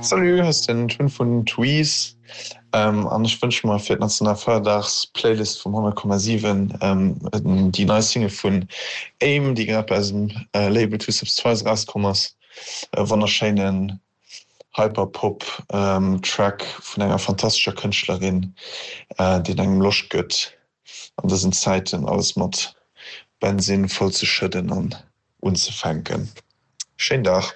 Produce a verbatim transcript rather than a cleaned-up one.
Salut, hei ass den Tun vun Tweez an ech wënsche mer fir d'Nationalfeierdags-Playlist vum honnert Komma siwen déi nei Single vun Aim, déi grad bei eisem Label Two Steps Twice erauskomm ass. E wonnerschéinen Hyperpop Track vun enger fantastescher Kënschtlerin, deen engem Loscht gëtt an dësen Zäiten alles mat Bensinn voll ze schëdden an unzefänken. Schéin Dag!